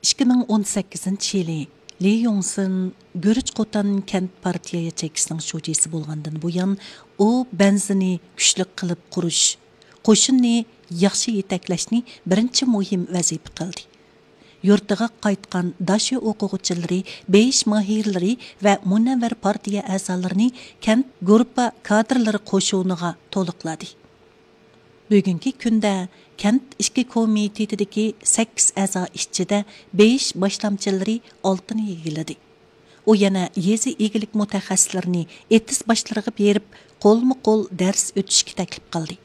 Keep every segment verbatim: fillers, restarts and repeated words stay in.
ئىككى مىڭ ئون سەككىزىنچى يىلى لى يۇڭسىن گۈرۈچ قوتان كەنت پارتىيە ياچېيكىسىنىڭ شۇجىسى بولغاندىن بۇيان، ئۇ بەنزىنى كۈچلۈك قىلىپ قۇرۇش، قوشۇننى ياخشى يېتەكلەشنى بىرىنچى مۇھىم ۋەزىپە قىلدى. يۇرتىغا قايتقان داشۆ ئوقۇغۇچىلىرى، بېيىش ماھىرلىرى ۋە مۇنەۋۋەر پارتىيە ئەزالىرىنى كەنت گۇرۇپپا كادىرلىرى قوشۇنىغا تولۇقلىدى. بۈگۈنكى كۈندە كەنت ئىچكى كومىتېتىدىكى سەككىز ئەزا ئىچىدە بېيىش باشلامچىلىرى ئالتىنى ئىگىلىدى. ئۇ يەنە يېزا ئىگىلىك مۇتەخەسسىسلىرىنى ئېتىز باشلىرىغا بېرىپ، قولمۇ قول دەرس ئۆتۈشكە تەكلىپ قىلدى.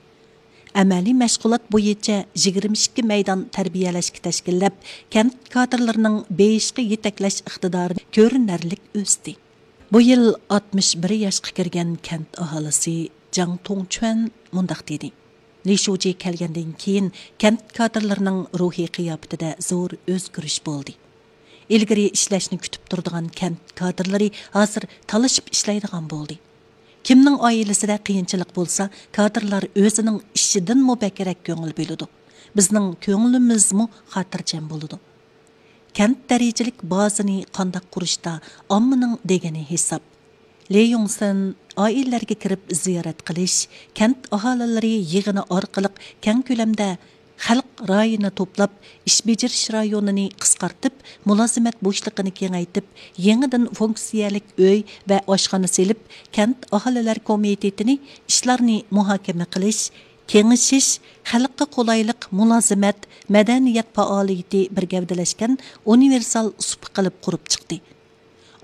ئەمەلىي مەشغۇلات بويىچە يىگىرمە ئىككى مەيدان تەربىيەلەشكە تەشكىللەپ، كەنت كادىرلىرىنىڭ بېيىشقا يېتەكلەش ئىقتىدارى كۆرۈنەرلىك ئۆستى. بۇ يىل ئاتمىش بىر ياشقا كىرگەن كەنت ئاھالىسى جاڭ توڭچۈەن مۇنداق دېدى: لى شۇجى كەلگەندىن كېيىن، كەنت كادىرلىرىنىڭ روھىي قىياپىتىدە زور ئۆزگىرىش بولدى. ئىلگىرى ئىشلەشنى كۈتۈپ تۇرىدىغان كەنت كادىرلىرى ھازىر تالىشىپ ئىشلەيدىغان بولدى. كىمنىڭ ئائىلىسىدە قىيىنچىلىق بولسا، كادىرلار ئۆزىنىڭ ئىشىدىنمۇ بەكرەك كۆڭۈل بۆلىدۇ. بىزنىڭ كۆڭلىمىزمۇ خاتىرجەم بولىدۇ. كەنت دەرىجىلىك بازىنى قانداق قۇرۇشتا ئاممىنىڭ دېگىنى ھېساب. لى يۇڭسىن ئائىلىلەرگە كىرىپ زىيارەت قىلىش، كەنت ئاھالىلىرى يىغىنى ئارقىلىق كەڭ كۆلەمدە خەلق رايىنى توپلاپ، ئىش بېجىرىش رايونىنى قىسقارتىپ، مۇلازىمەت بوشلۇقىنى كېڭەيتىپ، يېڭىدىن فۇنكسىيەلىك ئۆي ۋە ئاشخانا سېلىپ، كەنت ئاھالىلەر كومىتېتىنى ئىشلارنى مۇھاكىمە قىلىش، كېڭىشىش، خەلققە قولايلىق مۇلازىمەت، مەدەنىيەت پائالىيىتى بىر گەۋدىلەشكەن ئۇنىۋېرسال سۇپا قىلىپ قۇرۇپ چىقتى.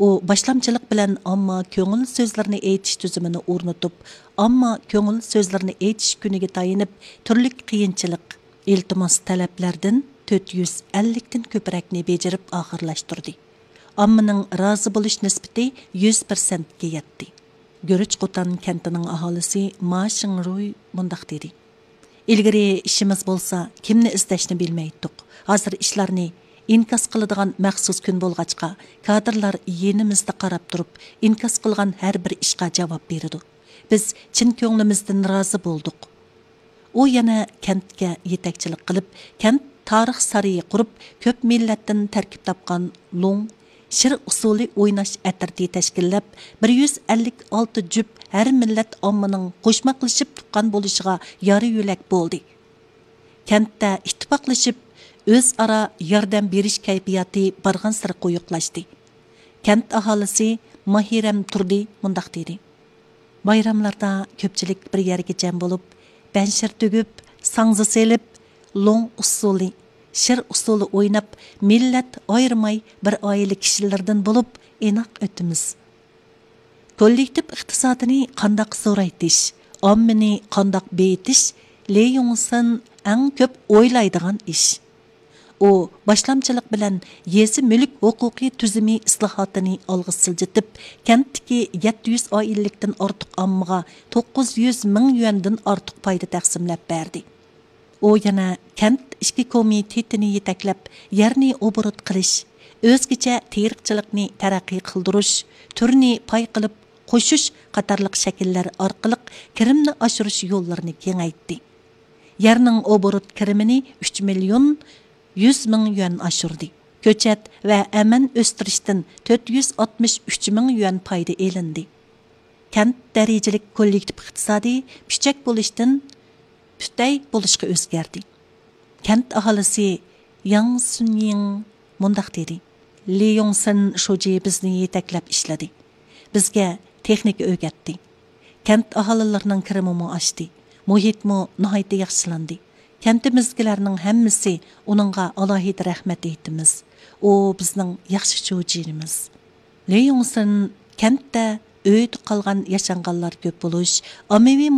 ئۇ باشلامچىلىق بىلەن ئامما كۆڭۈل سۆزلىرىنى ئېيتىش تۈزۈمىنى ئورنىتىپ، ئامما كۆڭۈل سۆزلىرىنى ئېيتىش كۈنىگە تايىنىپ، تۈرلۈك قىيىنچىلىق، ئىلتىماس تەلەپلەردىن تۆت يۈز ئەللىكتىن كۆپرەكنى بېجىرىپ ئاخىرلاشتۇردى. ئاممىنىڭ رازى بولۇش نىسبىتى يۈز پىرسەنتكە يەتتى. گۈرۈچ قوتان كەنتىنىڭ ئاھالىسى ما شىڭرۇي مۇنداق دېدى: ئىلگىرى ئىشىمىز بولسا، كىمنى ئىزدەشنى بىلمەيتتۇق. ھازىر ئىشلارنى ئىنكاس قىلىدىغان مەخسۇس كۈن بولغاچقا، كادىرلار يېنىمىزدا قاراپ تۇرۇپ، ئىنكاس قىلغان ھەر بىر ئىشقا جاۋاب بېرىدۇ. بىز چىن كۆڭلىمىزدىن رازى بولدۇق. ئۇ يەنە كەنتكە يېتەكچىلىك قىلىپ، كەنت تارىخ سارىيى قۇرۇپ، كۆپ مىللەتتىن تەركىب تاپقان لوڭ شىر ئۇسسۇلى ئويناش ئەترىتى تەشكىللەپ، بىر يۈز ئەللىك ئالتە جۈپ ھەر مىللەت ئاممىنىڭ قوشماقلىشىپ تۇغقان بولۇشىغا يارا يۆلەك بولدى. كەنتتە ئىتتىپاقلىشىپ، ئۆزئارا ياردەم بېرىش كەيپىياتى بارغانسېرى قويۇقلاشتى. كەنت ئاھالىسى ماھىرەم تۇردى مۇنداق دېدى: بايراملاردا كۆپچىلىك بىر يەرگە جەم بولۇپ، بەنشىر تۈگۈپ، ساڭزا سېلىپ، لوڭ ئۇسسۇلى، شىر ئۇسسۇلى ئويناپ، مىللەت ئايرىماي بىر ئائىلە كىشىلىرىدىن بولۇپ ئىناق ئۆتىمىز. كوللېكتىپ ئىقتىسادىنى قانداق زورايتىش، ئاممىنى قانداق بېيىتىش لى يۇڭسىن ئەڭ كۆپ ئويلايدىغان ئىش. ئۇ باشلامچىلىق بىلەن يېزا مۈلۈك ھوقۇقى تۈزۈمى ئىسلاھاتىنى ئالغا سىلجىتىپ، كەنتتىكى يەتتە يۈز ئائىلىلىكتىن ئارتۇق ئاممىغا توققۇز يۈز مىڭ يۈەندىن ئارتۇق پايدا تەقسىملەپ بەردى. ئۇ يەنە كەنت ئىچكى كومىتېتىنى يېتەكلەپ، يەرنى ئوبوروت قىلىش، ئۆزگىچە تېرىقچىلىقنى تەرەققىي قىلدۇرۇش، تۈرنى پاي قىلىپ قوشۇش قاتارلىق شەكىللەر ئارقىلىق كىرىمنى ئاشۇرۇش يوللىرىنى كېڭەيتتى. يەرنىڭ ئوبوروت كىرىمىنى ئۈچ مىليون يۈز مىڭ يۈەن ئاشۇردى. كۆچەت ۋە ئەمەن ئۆستۈرۈشتىن تۆت يۈز ئاتمىش ئۈچ مىڭ يۈەن پايدا ئېلىندى. كەنت دەرىجىلىك كوللېكتىپ ئىقتىسادى پۈچەك بولۇشتىن پۈتەي بولۇشقا ئۆزگەردى. كەنت ئاھالىسى ياڭ سۈنيىڭ مۇنداق دېدى: لى يۇڭسىن شۇجى بىزنى يېتەكلەپ ئىشلىدى. بىزگە تېخنىكا ئۆگەتتى. كەنت ئاھالىلىرىنىڭ كىرىمىمۇ ئاشتى. مۇھىتمۇ ناھايىتى ياخشىلاندى. كەنتىمىزدىكىلەرنىڭ ھەممىسى ئۇنىڭغا ئالاھىدە رەھمەت ئېيتىمىز. ئۇ بىزنىڭ ياخشى شۇجىمىز. لى يۇڭسىن كەنتتە ئۆيدە قالغان ياشانغانلار كۆپ بولۇش، ئاممىۋى